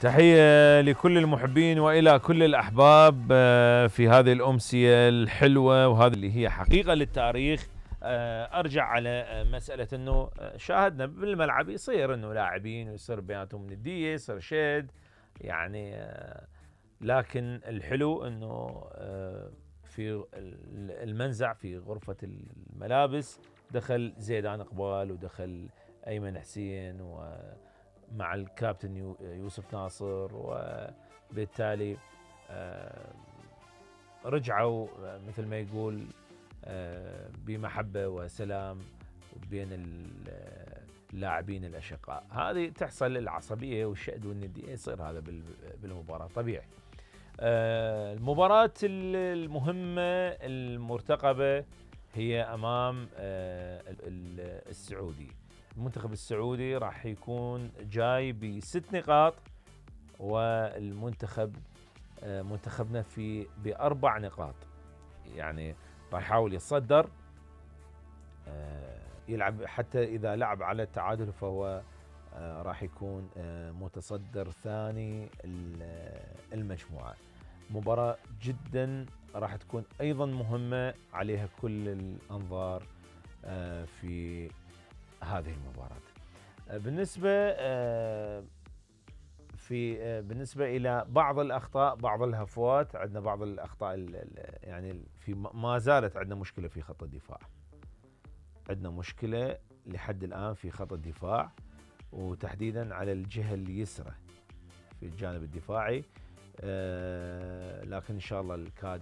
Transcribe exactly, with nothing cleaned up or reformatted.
تحية لكل المحبين وإلى كل الأحباب في هذه الأمسية الحلوة، وهذه اللي هي حقيقة للتاريخ. أرجع على مسألة أنه شاهدنا بالملعب يصير أنه لاعبين ويصير بيناتهم ندية، يصير شد يعني، لكن الحلو أنه في المنزع في غرفة الملابس دخل زيدان إقبال ودخل أيمن حسين و مع الكابتن يوسف ناصر، وبالتالي رجعوا مثل ما يقول بمحبة وسلام بين اللاعبين الأشقاء. هذه تحصل العصبية والشد والندية، يصير هذا بالمباراة طبيعي. المباراة المهمة المرتقبة هي أمام السعودي. المنتخب السعودي راح يكون جاي بست نقاط، والمنتخب منتخبنا في بأربع نقاط، يعني راح يحاول يتصدر يلعب، حتى إذا لعب على التعادل فهو راح يكون متصدر ثاني المجموعة. مباراة جدا راح تكون أيضا مهمة، عليها كل الأنظار في هذه المباراة. بالنسبة في بالنسبة إلى بعض الأخطاء، بعض الهفوات، عندنا بعض الأخطاء يعني في ما زالت عندنا مشكلة في خط الدفاع. عندنا مشكلة لحد الآن في خط الدفاع، وتحديدا على الجهة اليسرى في الجانب الدفاعي، لكن إن شاء الله الكادر